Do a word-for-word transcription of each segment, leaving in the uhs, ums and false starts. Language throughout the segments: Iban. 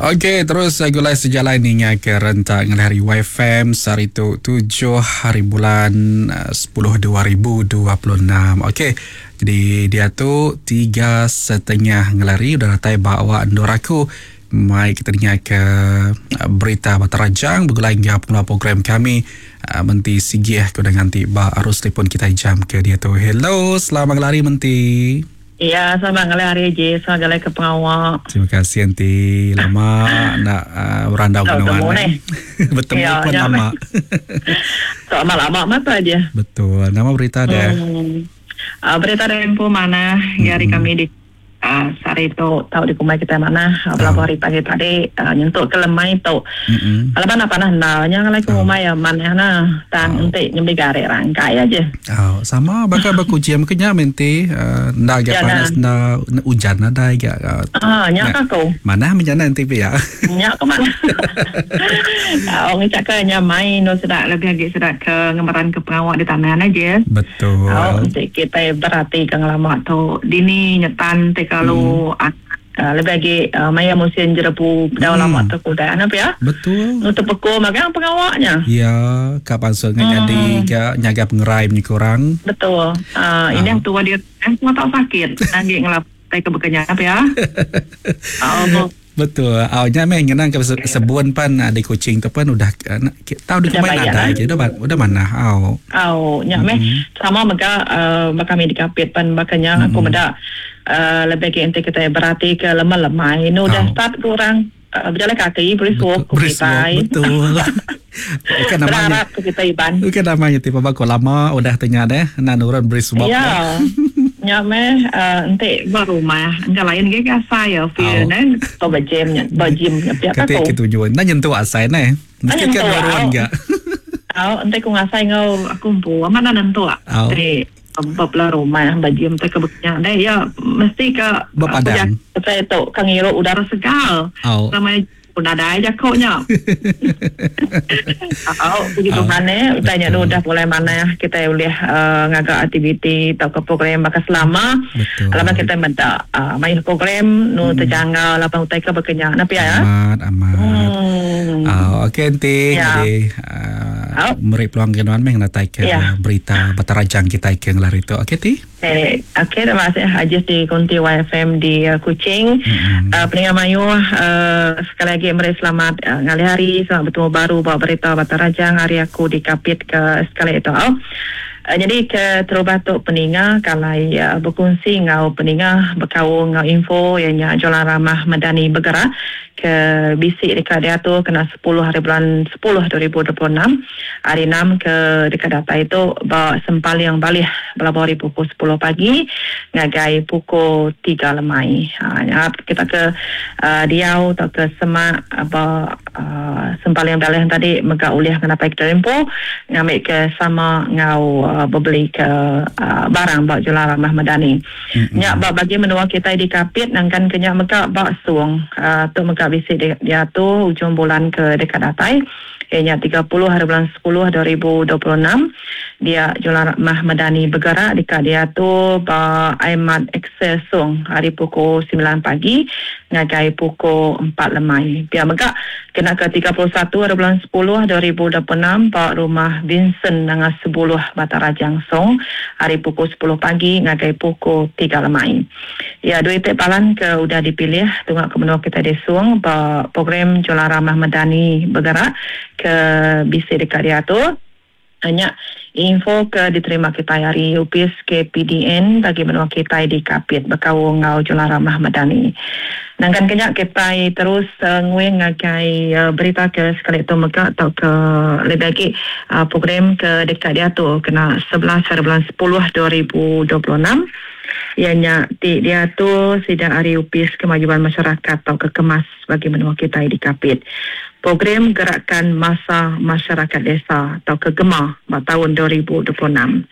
Okey, terus gulai sejalai ninga ke rentak ngalih hari Y F M sehari tu tujuh hari bulan sepuluh dua ribu dua puluh enam. Okey, jadi dia tu tiga setengah ngelari udah datai bawa endur aku. Mai kita dengar ke uh, berita Batang Rajang bergulai hingga pengeluar program kami uh, Menti Sigih ke udah nganti ba arus telefon kita jam ke dia tu. Hello, selamat ngelari, Menti. Ya, selamat ngalih hari je, selamat ngalih ke pengawak. Terima kasih, Enti. Lama nak uh, berandau Tak dengan bertemu eh. ni. Bertemu Ya, pun ya, lama. So, lama-lama mata aja. Betul. Nama berita dah. Hmm. Uh, berita dari info mana hari Hmm. kami di uh, sehari tu tahu di kumai kita mana uh, beberapa hari pagi tadi uh, nyentuk ke lemai tu. Mm-mm. Kalau mana panah ndalnya kalau Oh. kumai ya mana na tang Oh. ente nyembi garek rangkai aja. Oh, sama bakal berkuciam kenya menti uh, nda agak Ya, panas nda hujan nda agak uh, Ah, nyak Ya. aku. Mana menjana nanti ya. Nyak ke mana? Oh, ngecak ke nyamai no sedak lebih lagi sedak ke ngemaran ke pengawak di tanah aja. Betul. Oh, untuk kita berarti ke ngelama tu dini nyetan te kalau hmm. uh, lebih lagi uh, maya musim jerebu dah Hmm. lama tu kuda apa ya? Betul. Nutup peko magang pengawaknya. Ya, kapan so Hmm. jadi ga nyaga pengerai ni kurang. Betul. Uh, ini yang tua dia eh, semua tak sakit. Lagi ngelap tai ke bekenya apa ya? Oh, Betul. Awalnya meh ngenang ke se- sebuan pan ah, di kucing tu pun udah ah, nak- ki- tahu di Udah kumai bayar, ada eh? je udah udah mana. Aw. Oh, nyak meh sama mega uh, kami di kapit pan bakanya aku meda uh, lebih ke ente kita berarti ke lemah-lemah. Ini udah Oh. start kurang uh, berjalan kaki berisuk Betul. kita. Betul. Bukan namanya. Berharap ke kita iban. Bukan namanya tipe bako lama udah tanya deh nak nurun beri sebab. Ya. Nya meh uh, ente berumah engka lain ge ka saya feel Oh. ne to berjim nya berjim nya pihak Kata aku. kita tujuan. Nak nyentuh asai ne. Mesti kan nyentuh, nurun au. enggak. Au ente ku ngasai ngau aku empu mana nentu. Au. Te bab rumah berjim te ke beknya deh ya mesti ke Berpadang. Saya tu kang ngirup udara segar. Au. Sama pun ada aja kok nya. Au, begitu Au, mana tanya betul. lu dah mulai mana kita boleh uh, ngagak aktiviti atau ke program bakal selama. Betul. Lama kita minta uh, main program nu terjangkau lapan utai ke berkenyang. Napi ya? Amat amat. Hmm. Ah, okey nanti Ya. jadi uh, Au. meri peluang ke nuan meh natai ke Ya. berita Batarajang kita ke ngelar itu. Okey ti? Eh, okey, terima kasih Haji di Konti Y F M di uh, Kuching. Mm-mm. Uh, pendengar mayu, uh, sekali lagi meri selamat uh, ngalih hari, selamat bertemu baru bawa berita Batarajang hari aku di Kapit ke sekali itu. Oh. Uh, jadi ke terubah tu peninga kalau uh, berkongsi ngau peninga berkau ngau info yang nya Jalan Ramah Madani bergerak ke bisik dekat dia tu kena sepuluh hari bulan sepuluh dua ribu dua puluh enam hari enam ke dekat data itu bawa sempal yang balih berapa hari pukul sepuluh pagi ngagai pukul tiga lemai. Ha, ya, kita ke uh, diau atau ke semak apa uh, sempal yang balih tadi mega uliah kena pai kita tempo ngambil ke sama ngau uh, berbeli ke uh, barang bak Jalan Ramah Madani. Mm-mm. Nyak bak bagi menua kita di Kapit nangkan kenyak mega bak suang uh, tu mega bisi dia, dia tu ujung bulan ke dekat datai. Ianya tiga puluh hari bulan sepuluh dua ribu dua puluh enam dia Jalan Ramah Madani bergerak dekat dia tu ba Ahmad Excel Sung hari pukul sembilan pagi ngagai pukul empat lemai. Biar mega kena ke tiga puluh satu hari bulan sepuluh dua ribu dua puluh enam ba rumah Vincent Nanga sepuluh Batarajang Song hari pukul sepuluh pagi ngagai pukul tiga lemai. Ya, dua itik palan ke udah dipilih tungak ke menua kita di Suang ba program Jalan Ramah Madani bergerak ke bisik dekat dia tu. Hanya info ke diterima kita hari U P S K P D N bagi menua kita di Kapit berkau ngau Jalan Ramah Madani. Nangkan kenyak kita terus uh, nguing ngagai uh, berita ke sekali itu mega atau ke lebih lagi uh, program ke dekat dia tu kena sebelas hari bulan sepuluh dua ribu dua puluh enam ianya ti dia tu sidang hari U P S Kemajuan Masyarakat atau ke Kemas bagi menua kita di Kapit. Program Gerakan Masa Masyarakat Desa atau ke GEMA tahun dua ribu dua puluh enam.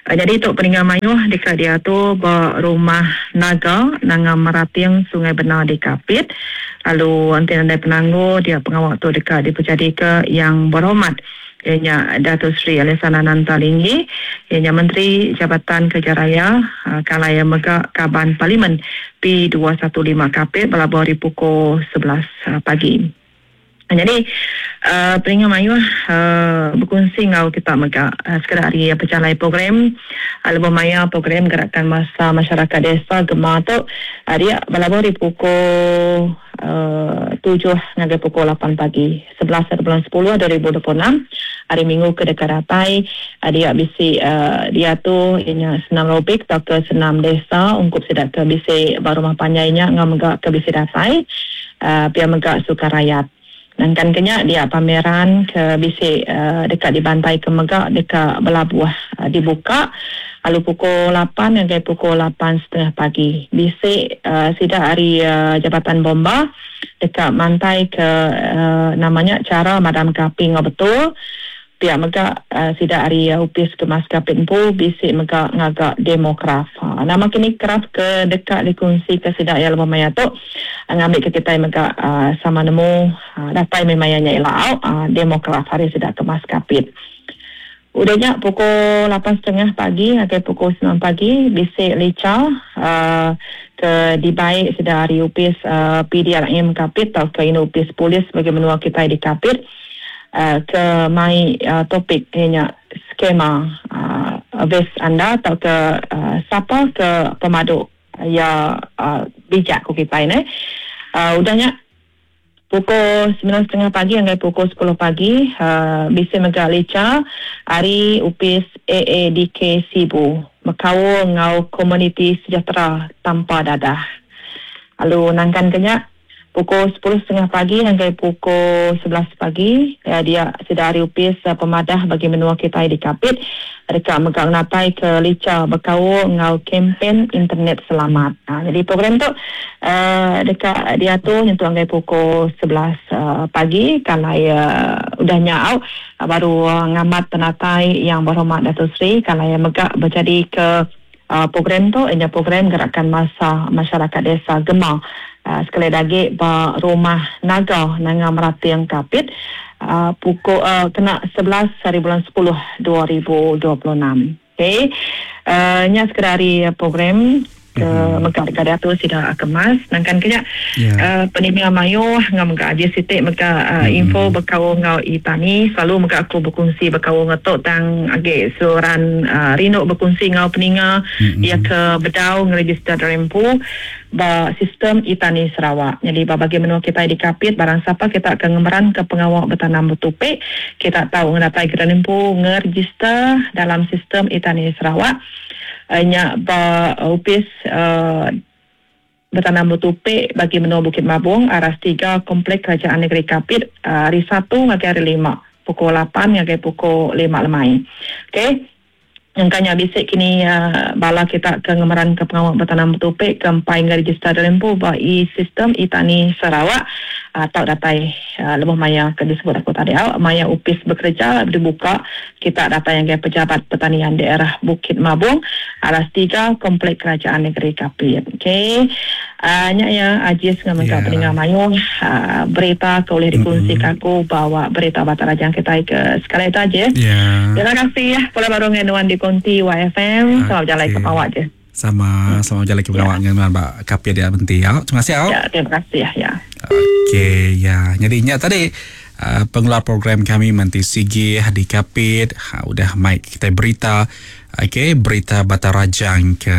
Uh, jadi untuk peninggal mayuh dekat dia tu rumah Naga Nanga Merating Sungai Benar di Kapit. Lalu nanti nandai penangguh dia pengawal tu dekat dipercayai ke yang berhormat Ianya Datuk Seri Alexander Nanta Linggi, ianya Menteri Jabatan Kerja Raya, uh, Kalaya Mega Kaban Parlimen P dua satu lima Kapit berlabuh hari pukul sebelas uh, pagi. Jadi uh, peningan mayuh uh, berkongsi ngau kita mega uh, sekadar hari pejalai program uh, lebih maya program gerakan masa masyarakat desa Gema tu uh, dia berlabuh di pukul uh, tujuh hingga pukul lapan pagi sebelas bulan sepuluh dua ribu dua puluh enam hari Minggu ke dekat datai uh, dia bisi uh, dia tu ianya senam aerobik atau ke senam desa ungkup sidak ke bisi baru rumah panjainya ngau mega ke bisi datai uh, pia mega suka rakyat. Nangkan kenya dia pameran ke bisi uh, dekat di bantai ke mega dekat belabuh uh, dibuka lalu pukul lapan hingga pukul lapan setengah pagi. Bisi uh, sidak hari uh, Jabatan Bomba dekat mantai ke uh, namanya cara madam kapi ngau betul. Pihak mega uh, sidak hari uh, upis kemas kapit empu bisi mega ngagak demo craft. Ha, nama kini craft ke dekat dikongsi ke sidak yang lebih maya tu ngambil ke kita mega uh, sama nemu uh, datai memayanya ilau uh, demo craft hari sidak kemas kapit. Udahnya pukul lapan setengah pagi hingga pukul sembilan pagi bisi lica uh, ke dibaik sidak hari upis uh, P D R M Kapit atau ke Inu Upis Polis bagi menua kita di Kapit. Uh, ke mai uh, topik ianya skema uh, ves anda atau ke uh, siapa ke pemaduk ya uh, bijak ku kita ini. Uh, udahnya pukul sembilan setengah pagi hingga pukul sepuluh pagi uh, bisa mega lica hari upis A A D K Sibu Mekau ngau komuniti sejahtera tanpa dadah. Lalu nangkan kenya pukul sepuluh setengah pagi hingga pukul sebelas pagi ya, dia sudah hari upis uh, pemadah bagi menua kita di Kapit dekat megang natai ke lica berkau ngau kempen internet selamat. Ha, jadi program tu uh, dekat dia tu nyentuh hingga pukul sebelas uh, pagi kalau uh, udah nyau uh, baru uh, ngamat penatai yang berhormat Datuk Seri kalau yang megak berjadi ke uh, program tu ianya program gerakan masa masyarakat desa Gema. Uh, sekali lagi ba rumah naga nanga Meratiang Kapit uh, pukul uh, kena sebelas hari bulan sepuluh dua ribu dua puluh enam. Okey. Uh, nya sekadar hari program ke mm-hmm. Mega dekat tu sida kemas nangkan kenya yeah. uh, penimia mayu ngam mega aje sitik mega uh, mm-hmm. info berkau ngau itani selalu mega aku berkongsi berkau ngetok tang age suran uh, rindu berkongsi ngau peninga mm-hmm. ia ke bedau ngeregister rempu ba sistem itani Sarawak. Jadi bagi menua kita di Kapit barang siapa kita akan ngemeran ke pengawal bertanam bertupik kita tahu ngedatai kita nempu ngeregister dalam sistem itani Sarawak. Nya ba upis uh, bertanam bertupik bagi menua Bukit Mabung aras tiga Komplek Kerajaan Negeri Kapit uh, hari satu hingga hari lima pukul lapan hingga pukul lima lemai. Okey. Yang kanya bisik kini uh, bala kita ke ngemeran ke pengawal bertanam bertupik ke empai ngeregister dalam pu ba e-sistem itani Sarawak atau uh, datai uh, lebih maya ke disebut aku tadi uh, maya upis bekerja dibuka kita datai yang ke pejabat pertanian daerah Bukit Mabung aras tiga Komplek Kerajaan Negeri Kapit. Okey. Uh, nya ya ajis dengan yeah. Peningan mayung uh, berita ke boleh dikongsi mm-hmm. aku bawa berita Batang Rajang kita ke sekali itu aja. Yeah. Terima kasih ya pola baru ngenuan di Konti Y F M. Selamat jalan ke Pawak je. Sama selamat jalan ke Pawak yeah. Dengan Mbak Kapia dia berhenti ya. Terima kasih ya. Ya, terima kasih ya. Ya. Okey ya. Jadi nya tadi uh, pengeluar program kami Menti Sigi di Kapit ha, udah mic kita berita. Okey, berita Batang Rajang ke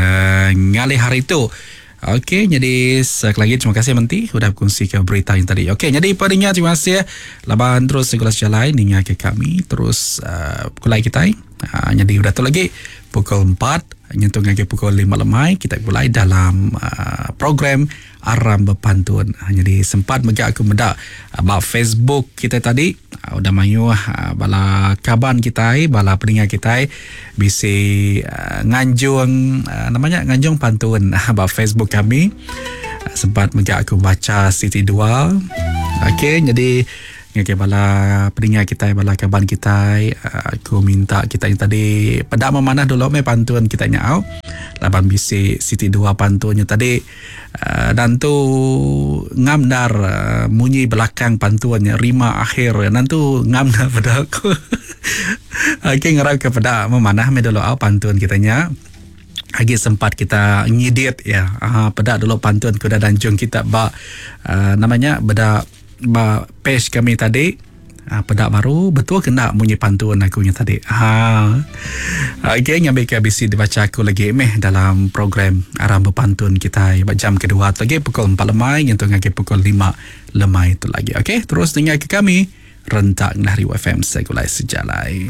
ngalih hari itu. Okey, jadi sekali lagi terima kasih Menti sudah berkongsi ke berita yang tadi. Okey, jadi padanya terima kasih. Laban terus segala jalan ninga ke kami terus uh, kulai kita. Uh, jadi sudah tu lagi pukul empat nyentuh lagi pukul lima lemai kita mulai dalam uh, program Aram Berpantun. Uh, jadi sempat mega aku medak uh, Facebook kita tadi uh, udah mayu uh, bala kaban kita, bala peninga kita bisi uh, nganjung uh, namanya nganjung pantun uh, bab Facebook kami. Uh, sempat mega aku baca Siti dua. Okey, jadi Okey, bala peninga kita, bala kaban kita, aku minta kita yang tadi pedak memanah dulu me pantun kita nyau. Laban bisi siti dua pantunnya tadi uh, dan tu ngamdar uh, munyi belakang pantunnya rima akhir dan tu ngamdar pada aku. Okey, ngarap kepada memanah me dulu au pantun kitanya. Agi sempat kita ngidit ya. Aha, peda dulu pantun kuda danjung kita ba uh, namanya beda ba page kami tadi. Ha, peda baru betul kena munyi pantun aku nya tadi. Ha. Okey, ngambil ke bisi dibaca aku lagi meh dalam program Aram Berpantun kita jam kedua tu lagi pukul empat lemai nyentuh ngagai pukul lima lemai tu lagi. Okey, terus dengar ke kami rentak dari F M Segulai Sejalai.